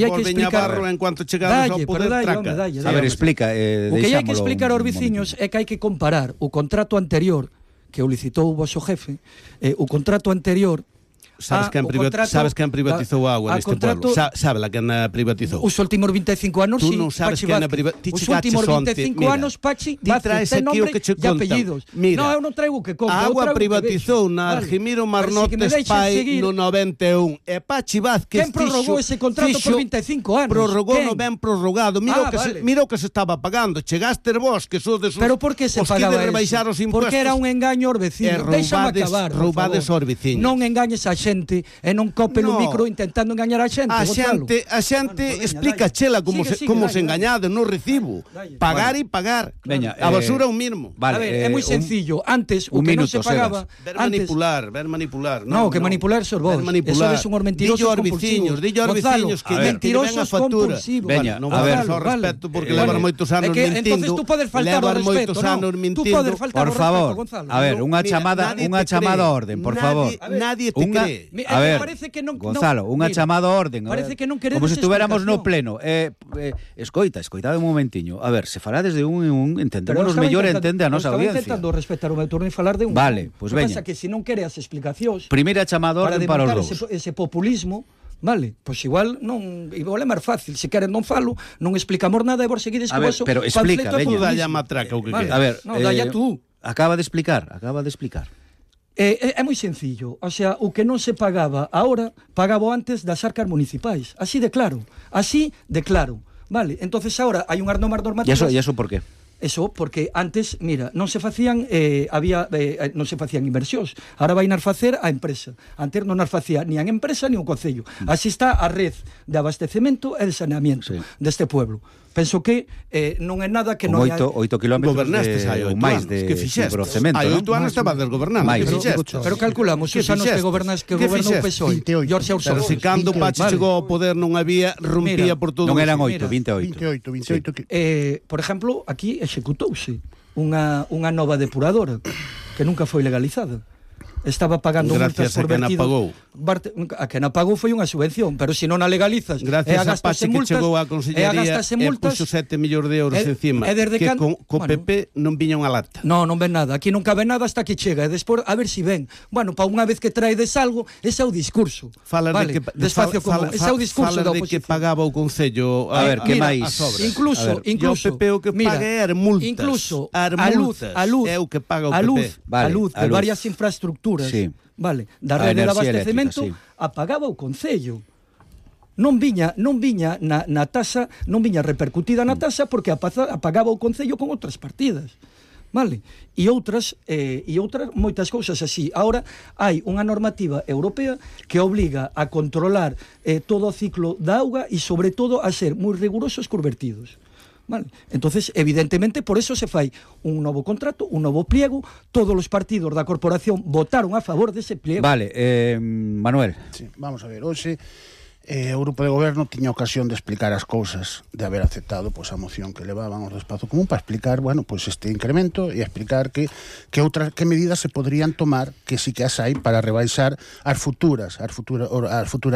volven a barro en cuanto chegamos ao poder traca. A ver, explica. O que hai que explicar aos veciños é que hai que comparar o contrato anterior que o licitou o vosso jefe, o contrato anterior. Sabes quen privatizou a agua neste pueblo? Sabe la quen privatizou? Os últimos 25 anos, Tú non sabes quen privatizou. Os últimos 25 anos, Pachi, Vázquez, ten nombre e apellidos. Mira, eu non traigo que conto. A agua privatizou na Argimiro Marnotes Pai no 91. E Pachi Vázquez quen prorrogou ese contrato por 25 anos? Prorrogou no ben prorrogado. Mira o que se estaba pagando. Chegaste vos, que sodes os... Pero por que se pagaba eso? Porque era un engaño aos veciños. Déxame acabar, roubades aos veciños. Non engañes a xente e non cope no micro intentando engañar a xente. A xente explica chela como se engañado no recibo. Pagar e pagar. A basura é un mínimo. A ver, é moi sencillo. Antes o que non se pagaba, ver manipular. No, que manipular sos vos. Eso es un mentiroso compulsivo. Dillo aos veciños que mentirosos compulsivos. Veña, a ver, só respeto porque levan moitos anos mentindo. Entonces tú podes faltar ao respeto, por favor. A ver, unha chamada a orden, por favor. Nadie te cree. A ver, Gonzalo, unha chamada a orden. Como se estuviéramos no pleno. Escoitade un momentiño. A ver, se falades de un en un, entendémonos mellor e entende a nosa audiencia. Estaba intentando respetar o meu turno e falar de un. Vale, pois veña. Pasa que se non quere as explicacións. Primeira chamada a orden para os dous. Ese populismo, vale, pois igual é máis fácil, se queren non falo, non explicamos nada e vos seguides co vosso. Pero explica, veña. Dalla matraca o que quere. A ver, dalla tú. Acaba de explicar. É moi sencillo, o sea, o que non se pagaba ahora, pagaba antes das arcas municipais, así de claro, vale, entonces ahora hai unhas normas normativas. E eso por qué? Eso porque antes, mira, non se facían non se facían inversións. Ahora vai nas facer a empresa. Antes non nas facía ni a empresa ni o concello. Así está a red de abastecemento e de saneamiento deste pueblo. Penso que non é nada que non hai... 8 kilómetros máis de cemento. Hai 8 anos estaba desgobernando. Pero calculamos os anos que gobernou o PSOE. Pero se cando Pachi chegou ao poder non había, rompía por todo. Non eran 8, 28. Por exemplo, aquí executouse unha nova depuradora que nunca foi legalizada. Estaba pagando multas por vertido. A que non pagou foi unha subvención, pero se non a legalizas, gracias a Pachi que chegou á consellería e puxo 7 millóns de euros encima, que co PP non viña unha lata. Non ven nada, aquí non cabe nada hasta que chega, e despois a ver si ven. Bueno, para unha vez que traedes algo, ese é o discurso. Despacio común, ese é o discurso da oposición. Que pagaba o concello, a ver, que máis? Incluso, o PP o que paga é multas. Incluso a luz, é o que paga o PP. A luz de varias infraestructuras. Sí. Vale, da rede de abastecemento apagaba o concello. Non viña na tasa, non viña repercutida na tasa porque apagaba o concello con outras partidas. Vale? E outras moitas cousas así. Ahora hai unha normativa europea que obliga a controlar todo o ciclo da auga e sobre todo a ser moi rigurosos cos vertidos. Vale. Entonces, evidentemente, por eso se fai un novo contrato, un novo pliego. Todos os partidos da corporación votaron a favor dese pliego. Vale, Manuel. Sí, vamos a ver, hoxe o grupo de goberno tiña ocasión de explicar as cousas, de haber aceptado pois a moción que levaban ao do espazo común para explicar, bueno, pois este incremento e explicar que medidas se podrían tomar, que si que as hai para rebaixar as futuras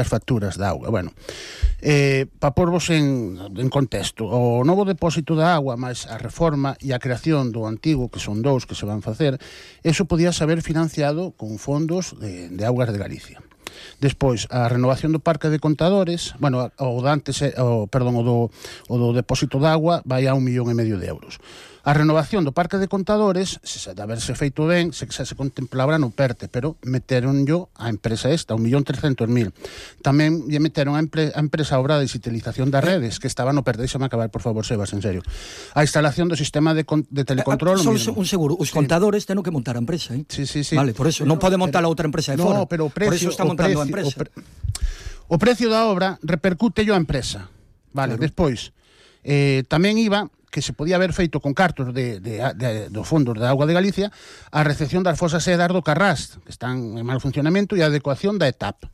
facturas da auga. Bueno, para porvos en contexto, o novo depósito da agua máis a reforma e a creación do antigo, que son dous que se van facer, eso podía saber financiado con fondos de Augas de Galicia. Despois, a renovación do parque de contadores, bueno, o do depósito de agua vai a 1,5 millón de euros. A renovación do parque de contadores, se de haberse feito ben, se contemplaba no PERTE, pero meteronllo a empresa esta, 1.300.000. Tamén lle meteron a empresa obra de digitalización das redes, que estaba no PERTE. Deixame acabar, por favor, Sebas, en serio. A instalación do sistema de telecontrol... Só un seguro, os contadores tenen que montar a empresa, eh? Sí. Vale, por eso, non pode montar a outra empresa de fora. Pero o precio, por eso está montando a empresa. O precio da obra repercute a empresa. Vale, claro. Despois, tamén iba que se podía haber feito con cartos dos fondos da Auga de Galicia a recepción das fosas sedas do Carrás, que están en mal funcionamento, e a adecuación da ETAP.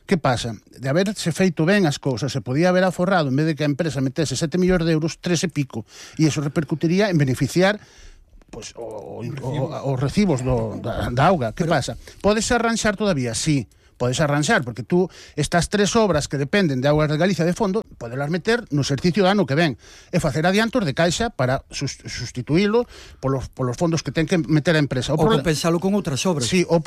Que pasa? De haberse feito ben as cousas, se podía haber aforrado, en vez de que a empresa metese 7 millóns de euros, 3 e pico, e iso repercutiría en beneficiar pois os recibos da auga. Que pasa? Podes arranxar todavía? Sí. podes arranxar, porque tú estas 3 obras que dependen de Augas de Galicia de fondo, podelas meter no exercicio do ano que ven e facer adiantos de caixa para sustituílo polos fondos que ten que meter a empresa. Ou compensalo con outras obras. Sí, o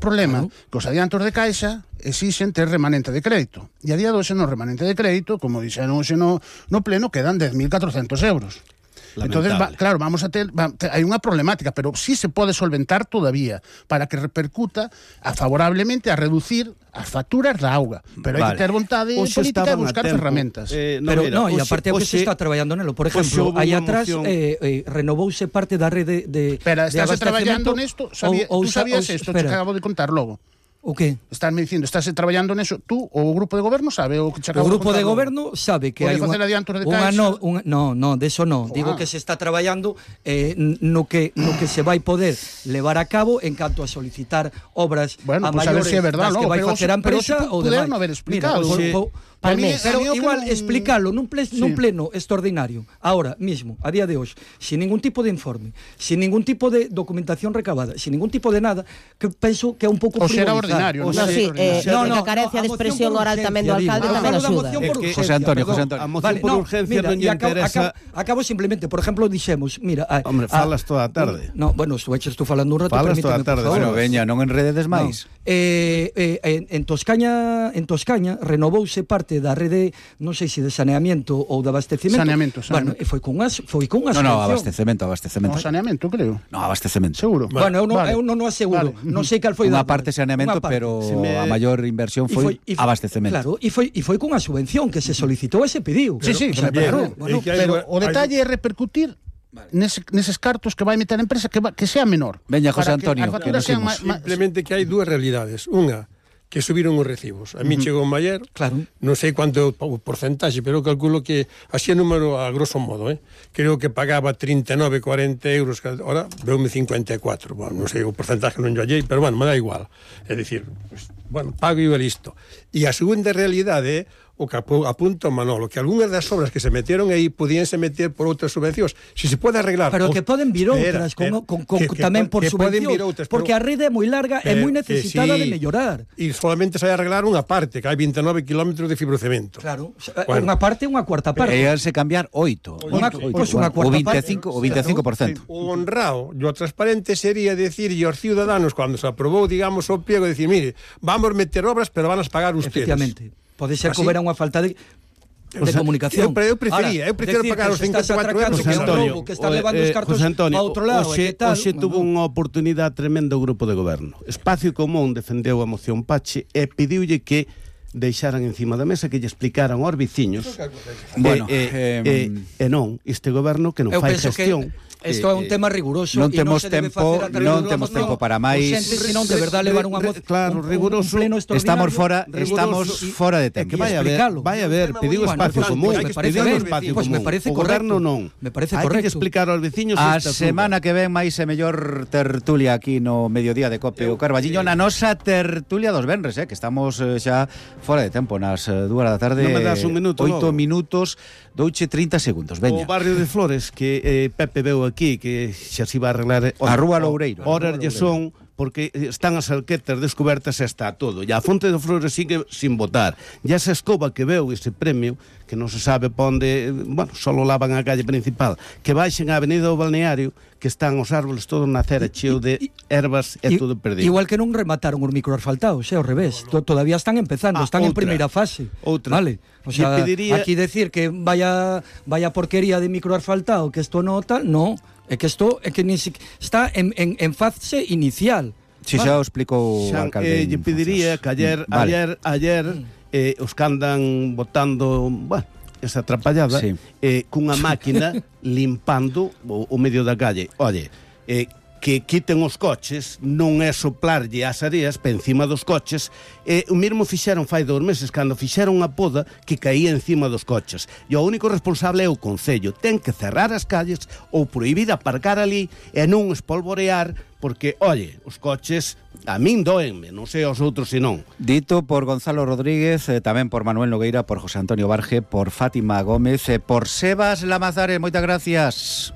problema que os adiantos de caixa exixen ter remanente de crédito. E a día de hoxe no remanente de crédito, como dixeron hoxe no pleno, quedan 10.400 euros. Entonces, claro, vamos a ter hai unha problemática, pero sí se pode solventar todavía para que repercuta favorablemente a reducir as facturas da auga, pero hai que ter vontade política e buscar ferramentas. E aparte se está traballando nelo. Por exemplo, aí atrás renovouse parte da rede de Pero estás traballando nesto, tú sabías isto que acabo de contar logo. O que? Estás me dicindo, estás traballando neso, tú ou o grupo de goberno sabe o que che acabo de contar? O grupo de goberno sabe que hai unha adiantos de caixa. No, deso non. Digo que se está traballando no que se vai poder levar a cabo en canto a solicitar obras a maiores si é verdad, que vai facer a empresa ou demais. Haber explicado. Pero igual explicarlo nun pleno extraordinario, ahora mismo, a día de hoxe, sin ningún tipo de informe, sin ningún tipo de documentación recabada, sin ningún tipo de nada, que penso que é un pouco frivolizar. Ordinario. A carencia de expresión oral tamén do alcalde tamén axuda. José Antonio. A moción por urgencia non lle interesa. Acabo simplemente, por exemplo, dixemos, mira, hombre, falas toda a tarde. No, bueno, estou falando un rato, falas toda a tarde. Bueno, veña, non enrededes máis. En Toscaña renovouse parte da rede, non sei se de saneamento ou de abastecemento. Saneamento. Bueno, foi con unha subvención. No, abastecemento. No, saneamento, creo. No, abastecemento. Seguro. Bueno, eu non aseguro. Non sei cal foi unha parte saneamento, pero a maior inversión foi abastecemento. Claro, e foi con a subvención que se solicitou e se pediu. Sí, pero o detalle é repercutir neses cartos que vai meter a empresa que sea menor. Veña, José Antonio, que nos simplemente que hai dúas realidades. Unha, que subiron os recibos. A mí chegou en Maier, non sei quanto o porcentaxe, pero calculo que así é número a grosso modo, creo que pagaba 39, 40 euros, ahora veume 54. Bueno, non sei o porcentaxe, non yo hallei, pero bueno, me dá igual. É dicir, pues, bueno, pago e listo. E a segunda realidade o que apunta Manolo, que algunhas das obras que se metieron aí podíanse meter por outras subvencións. Se se pode arreglar... Pero que poden vir outras, tamén por subvencións, porque a rede é moi larga e moi necesitada de mellorar. E solamente se vai arreglar unha parte, que hai 29 km de fibrocemento. Claro, unha parte e unha cuarta parte. E se cambiar 8. Unha cuarta parte. O 25%. O honrado e o transparente sería decir aos ciudadanos, cando se aprobou, digamos, o pliego, decir, mire, vamos meter obras, pero van a pagar ustedes. Efectivamente. Pode ser que houbera unha falta de comunicación. Eu prefiro pagar os 54 euros que está levando os cartos a outro lado. Hoxe tuvo unha oportunidade tremenda o grupo de goberno. Espacio Común defendeu a moción Pache e pediulle que deixaran encima da mesa, que lle explicaran aos veciños. Bueno, non, este goberno que non fai gestión. Isto é un tema riguroso. Non temos tempo para máis. Senón de verdade levar unha moción. Claro, riguroso. Estamos fora de tempo. Vai a ver, pediu espacio común. Me parece o goberno non. Me parece Hai correcto. que explicar aos veciños. A semana que ven máis e mellor tertulia aquí no mediodía de Cope o Carballiño, na nosa tertulia dos venres, que estamos xa fora de tempo, nas 2 da tarde. Non me das un minuto. 8 minutos, douche 30 segundos. Veña. O barrio de Flores que Pepe veu aquí, que xa se iba a arreglar a Rúa Loureiro. Horas lle son porque están as alquetas descobertas e está todo. E a Fonte de Flores sigue sin votar. E esa escoba que veu ese premio, que non se sabe pa onde, bueno, solo lavan a calle principal, que baixen a Avenida do Balneario, que están os árboles todos na acera cheo de ervas e todo perdido. Igual que non remataron os microasfaltados, ao revés. Todavía están empezando, están en primeira fase. Vale. O sea, aquí decir que vaya porquería de microasfaltado, que isto no tal, no. É que isto está en fase inicial. Si xa o explicou o alcalde. Lle pediría que ayer os que andan botando, bueno, esa atrapallada, cunha máquina limpando o medio da calle. Oye, que quiten os coches, non é soplarlle as areas pa encima dos coches. O mesmo fixeron fai 2 meses, cando fixeron a poda que caía encima dos coches. E o único responsable é o Concello. Ten que cerrar as calles ou prohibir aparcar ali e non espolvorear, porque, oye, os coches a min doenme, non sei aos outros se non. Dito por Gonzalo Rodríguez, tamén por Manuel Nogueira, por José Antonio Barge, por Fátima Gómez, por Sebas Lamazares. Moitas gracias.